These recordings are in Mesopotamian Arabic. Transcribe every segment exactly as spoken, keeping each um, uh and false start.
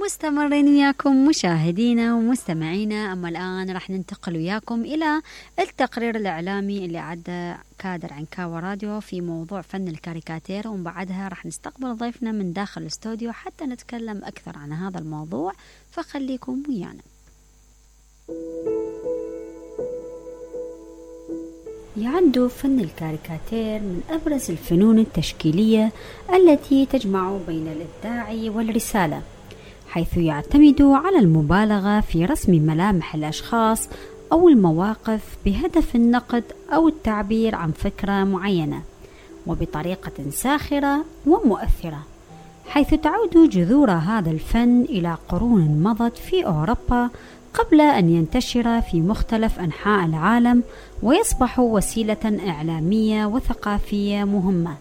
ومستمرين وياكم مشاهدينا ومستمعينا. أما الآن راح ننتقل وياكم إلى التقرير الإعلامي اللي عدى كادر عنكاوى راديو في موضوع فن الكاريكاتير، ومن بعدها راح نستقبل ضيفنا من داخل الاستوديو حتى نتكلم أكثر عن هذا الموضوع، فخليكم ويانا. يعد فن الكاريكاتير من أبرز الفنون التشكيلية التي تجمع بين الإبداع والرسالة، حيث يعتمد على المبالغة في رسم ملامح الأشخاص أو المواقف بهدف النقد أو التعبير عن فكرة معينة وبطريقة ساخرة ومؤثرة، حيث تعود جذور هذا الفن إلى قرون مضت في أوروبا قبل أن ينتشر في مختلف أنحاء العالم ويصبح وسيلة إعلامية وثقافية مهمة،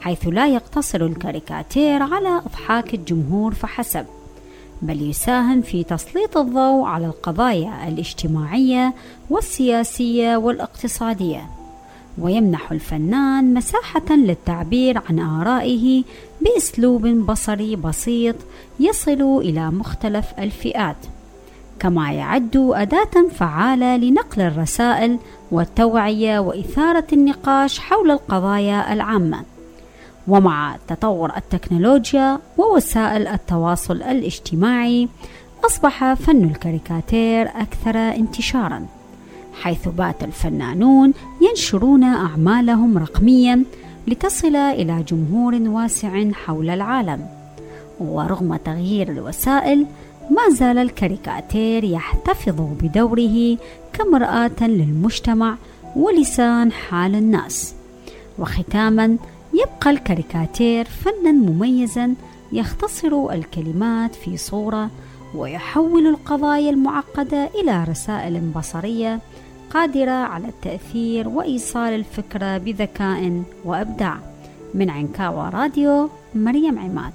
حيث لا يقتصر الكاريكاتير على إضحاك الجمهور فحسب، بل يساهم في تسليط الضوء على القضايا الاجتماعية والسياسية والاقتصادية، ويمنح الفنان مساحة للتعبير عن آرائه بأسلوب بصري بسيط يصل إلى مختلف الفئات، كما يعد أداة فعالة لنقل الرسائل والتوعية وإثارة النقاش حول القضايا العامة. ومع تطور التكنولوجيا ووسائل التواصل الاجتماعي، أصبح فن الكاريكاتير أكثر انتشاراً، حيث بات الفنانون ينشرون أعمالهم رقمياً لتصل إلى جمهور واسع حول العالم. ورغم تغيير الوسائل، ما زال الكاريكاتير يحتفظ بدوره كمرآة للمجتمع ولسان حال الناس. وختاماً، يبقى الكاريكاتير فناً مميزاً يختصر الكلمات في صورة ويحول القضايا المعقدة إلى رسائل بصرية قادرة على التأثير وإيصال الفكرة بذكاء وإبداع. من عنكاوى راديو، مريم عماد.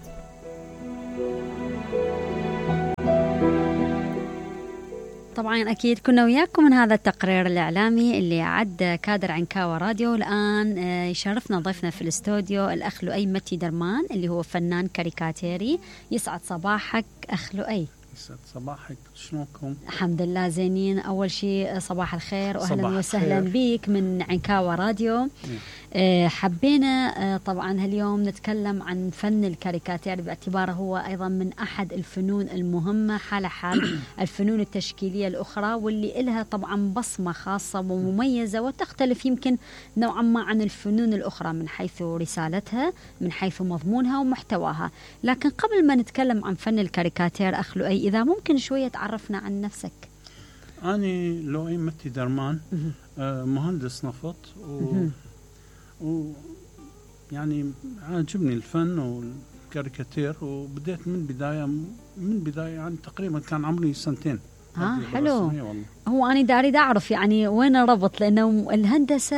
طبعا أكيد كنا وياكم من هذا التقرير الإعلامي اللي عد كادر عنكاوى راديو. الآن يشرفنا ضيفنا في الاستوديو الأخ لؤي متي درمان اللي هو فنان كاريكاتيري. يسعد صباحك أخ لؤي. يسعد صباحك، شلونكم؟ الحمد لله زينين. أول شيء صباح الخير وأهلا وسهلا بك من عنكاوى راديو. أه حبينا أه طبعا هاليوم نتكلم عن فن الكاريكاتير باعتباره هو أيضا من أحد الفنون المهمة حال حال الفنون التشكيلية الأخرى، واللي إلها طبعا بصمة خاصة ومميزة وتختلف يمكن نوعا ما عن الفنون الأخرى من حيث رسالتها، من حيث مضمونها ومحتواها. لكن قبل ما نتكلم عن فن الكاريكاتير أخ لؤي، إذا ممكن شوية تعرفنا عن نفسك. أنا لؤي متي درمان، آه مهندس نفط، و و يعني عجبني الفن والكاريكاتير، وبديت من بداية من بداية يعني تقريبا كان عمري سنتين. اه حلو. هو أنا داري أعرف يعني وين الربط، لأنه الهندسة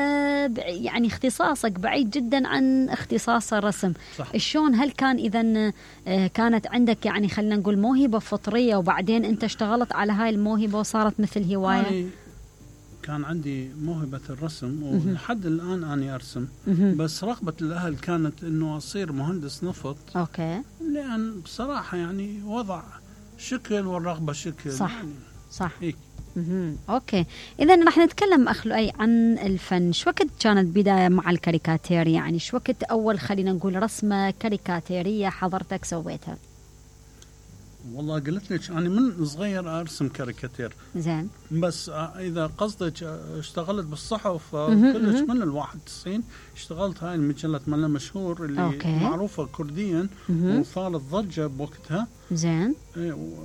يعني اختصاصك بعيد جدا عن اختصاص الرسم. صح. شلون هل كان إذا كانت عندك يعني خلينا نقول موهبة فطرية وبعدين أنت اشتغلت على هاي الموهبة وصارت مثل هواية؟ يعني كان عندي موهبة الرسم ولحد الآن أنا أرسم، بس رغبة الأهل كانت إنه أصير مهندس نفط. أوكي. لأن بصراحة يعني وضع شكل والرغبة شكل. صح. يعني صح. هيك. أوكي، إذا رح نتكلم أخ لؤي عن الفن. شو وقت كانت بداية مع الكاريكاتير؟ يعني شو وقت أول خلينا نقول رسمة كاريكاتيرية حضرتك سويتها؟ والله قلت لك أنا من صغير أرسم كاريكاتير. زين. بس إذا قصدك اشتغلت بالصحف كلش من الواحد وتسعين اشتغلت هاي المجلة مالنا مشهور اللي أوكي. معروفة كرديا وصارت ضجة بوقتها. زين.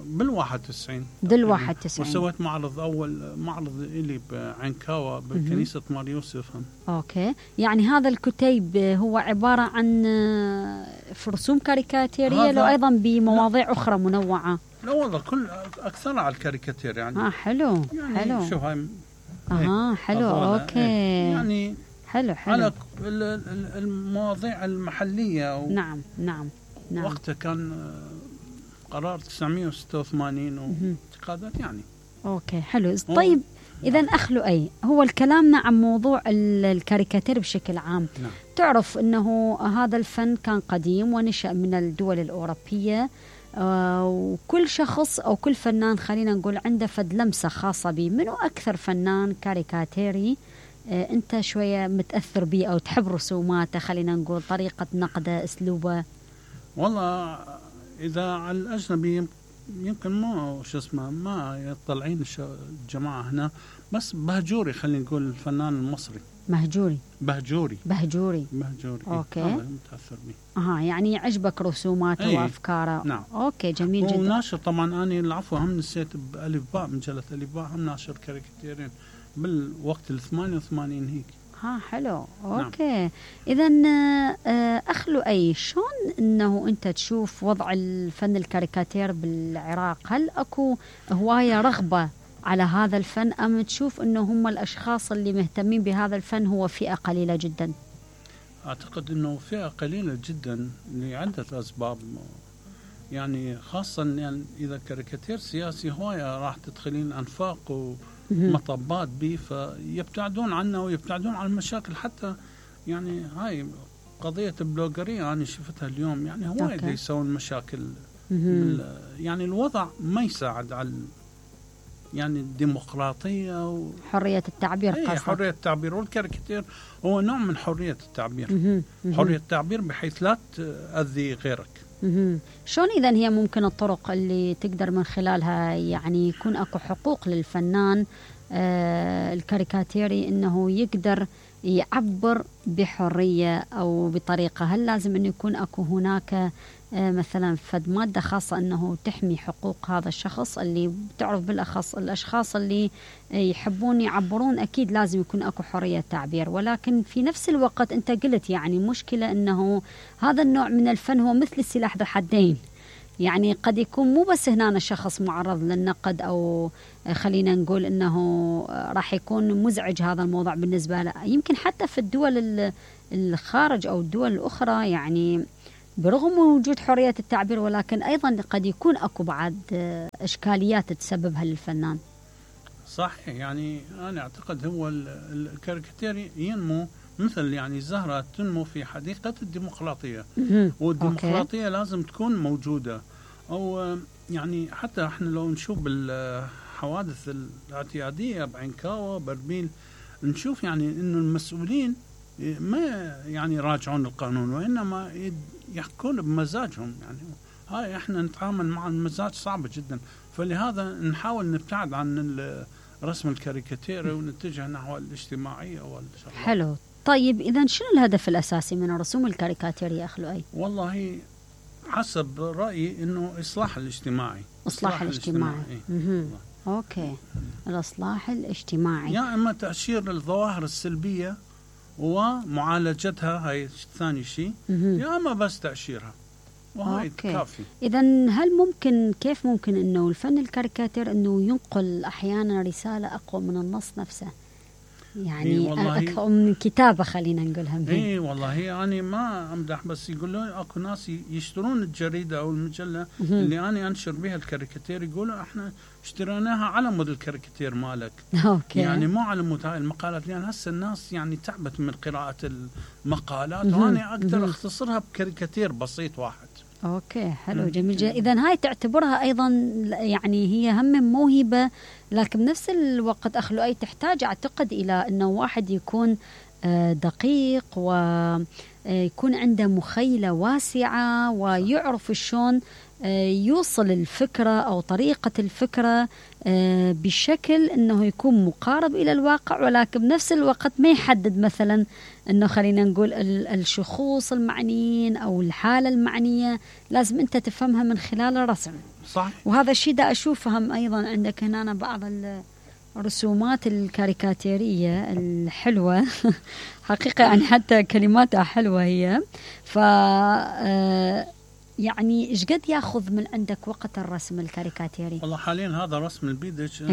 بالواحد وتسعين. بالواحد وتسعين. وسويت معرض أول معرض إلي بعنكاوى بكنيسة مار يوسف. أوكي، يعني هذا الكتيب هو عبارة عن رسوم كاريكاتيرية لو أيضا بمواضيع لا. أخرى منوعة؟ لا والله كل أكثر على الكاريكاتير يعني. آه حلو. يعني حلو. شوف هاي. آه حلو. أوكي. يعني حلو حلو. على المواضيع المحلية. و نعم نعم نعم. وقتها كان قرار تسعمية وستة وثمانين واعتقادات يعني. أوكي حلو. طيب إذا أخ لؤي، هو الكلامنا عن موضوع الكاريكاتير بشكل عام. نعم. تعرف أنه هذا الفن كان قديم ونشأ من الدول الأوروبية، آه وكل شخص أو كل فنان خلينا نقول عنده فد لمسة خاصة به. منو أكثر فنان كاريكاتيري آه أنت شوية متأثر به أو تحب رسوماته، خلينا نقول طريقة نقده، أسلوبه؟ والله إذا على الأجنبي يمكن ما شو اسمه ما يطلعين الجماعة هنا، بس بهجوري خلينا نقول الفنان المصري. مهجوري بهجوري بهجوري بهجوري أوكي. هذا متأثر به. أها يعني يعجبك رسوماته أيه. وأفكاره. نعم. أوكي جميل جدا. وناشر طبعا أنا العفو هم نسيت بألف باء، مجلة ألف باء هم ناشر كاريكاتيرين بالوقت الثمانية وثمانين هيك. ها حلو. أوكي. نعم. إذا أخ لؤي، شلون إنه أنت تشوف وضع الفن الكاريكاتير بالعراق؟ هل أكو هواية رغبة على هذا الفن، أم تشوف إنه هم الأشخاص اللي مهتمين بهذا الفن هو فئة قليلة جدا؟ أعتقد إنه فئة قليلة جدا لعدة أسباب، يعني خاصة يعني إذا كاريكاتير سياسي هواية راح تدخلين أنفاق ومطبات به، فيبتعدون عنه ويبتعدون عن المشاكل. حتى يعني هاي قضية البلوغرية أنا شفتها اليوم، يعني هواية يسوون مشاكل. يعني الوضع ما يساعد على يعني الديمقراطية وحرية التعبير. ايه حرية التعبير، والكاريكاتير هو نوع من حرية التعبير. حرية التعبير بحيث لا تأذي غيرك. شلون إذن هي ممكن الطرق اللي تقدر من خلالها يعني يكون أكو حقوق للفنان آه الكاريكاتيري إنه يقدر يعبر بحرية أو بطريقة؟ هل لازم أنه يكون أكو هناك آه مثلا فد مادة خاصة أنه تحمي حقوق هذا الشخص اللي بتعرف بالأخص الأشخاص اللي يحبون يعبرون؟ أكيد لازم يكون أكو حرية تعبير، ولكن في نفس الوقت أنت قلت يعني مشكلة أنه هذا النوع من الفن هو مثل السلاح ذو حدين. يعني قد يكون مو بس هنا الشخص معرض للنقد أو خلينا نقول أنه راح يكون مزعج هذا الموضوع بالنسبة له، يمكن حتى في الدول الخارج أو الدول الأخرى يعني برغم وجود حرية التعبير، ولكن أيضا قد يكون أكو بعد إشكاليات تسببها للفنان. صحيح. يعني أنا أعتقد هو الكاريكاتير ينمو مثل يعني زهرة تنمو في حديقة الديمقراطية، والديمقراطية أوكي. لازم تكون موجودة. أو يعني حتى احنا لو نشوف بالحوادث الاعتيادية بعينكاوة بربيل نشوف يعني إنه المسؤولين ما يعني يراجعون القانون، وإنما يحكون بمزاجهم. يعني هاي احنا نتعامل مع المزاج صعبة جدا، فلهذا نحاول نبتعد عن رسم الكاريكاتير ونتجه نحو الاجتماعية والشغلات. حلو. طيب إذا شنو الهدف الأساسي من الرسوم الكاريكاتيرية أخ لؤي؟ والله حسب رأيي إنه إصلاح الاجتماعي. إصلاح الاجتماعي. الاجتماعي. أوكي. الإصلاح الاجتماعي. يا إما تأشير الظواهر السلبية ومعالجتها، هاي ثاني شيء، يا إما بس تأشيرها، وهاي كافي. إذا هل ممكن كيف ممكن إنه الفن الكاريكاتير إنه ينقل أحيانا رسالة أقوى من النص نفسه؟ يعني أكثر من كتابة خلينا نقولها. اي والله يعني ما امدح، بس يقولون اكو ناس يشترون الجريدة او المجلة اللي انا انشر بها الكاريكاتير، يقولوا احنا اشتريناها على مود الكاريكاتير مالك. أوكي. يعني مو على مود هاي المقالات، لان هسه الناس يعني تعبت من قراءة المقالات، وانا اقدر اختصرها بكاريكاتير بسيط واحد. اوكي حلو جميل جدا. اذا هاي تعتبرها ايضا يعني هي هم موهبه، لكن بنفس الوقت اخ لؤي تحتاج اعتقد الى انه واحد يكون دقيق ويكون عنده مخيله واسعه ويعرف شلون يوصل الفكره او طريقه الفكره بشكل انه يكون مقارب الى الواقع، ولكن بنفس الوقت ما يحدد مثلا انه خلينا نقول الشخوص المعنيين او الحاله المعنيه لازم انت تفهمها من خلال الرسم. صح. وهذا الشيء دا اشوفه هم ايضا عندك هنا بعض الرسومات الكاريكاتيريه الحلوه حقيقه يعني حتى كلماتها حلوه هي. ف يعني ايش قد ياخذ من عندك وقت الرسم الكاريكاتيري؟ والله حاليا هذا رسم البيدج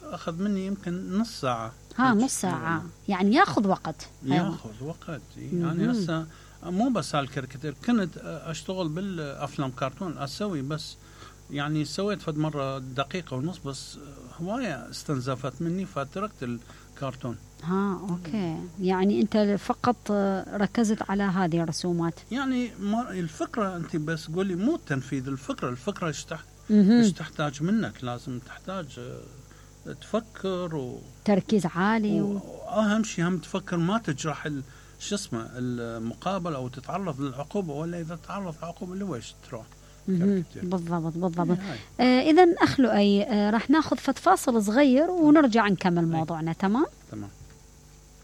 اخذ مني يمكن نص ساعه. ها نص ساعه يعني ياخذ وقت. ياخذ وقت يعني. هسه مو بس هالكاريكاتير، كنت اشتغل بالافلام كرتون اسوي، بس يعني سويت فد مره دقيقه ونص بس هوايه استنزفت مني فتركت كرتون. ها أوكي، يعني أنت فقط ركزت على هذه الرسومات. يعني الفكرة أنت بس قولي مو تنفيذ الفكرة، الفكرة إيش تحت إيش تحتاج منك، لازم تحتاج تفكر و تركيز عالي، وأهم شيء هم تفكر ما تجرح شو اسمه المقابل أو تتعرض للعقوبة، ولا إذا تعرض للعقوبة اللي ويش تروح. بالضبط بالضبط. آه إذا أخ لؤي، آه راح ناخذ فاصل صغير ونرجع نكمل موضوعنا. تمام؟ تمام.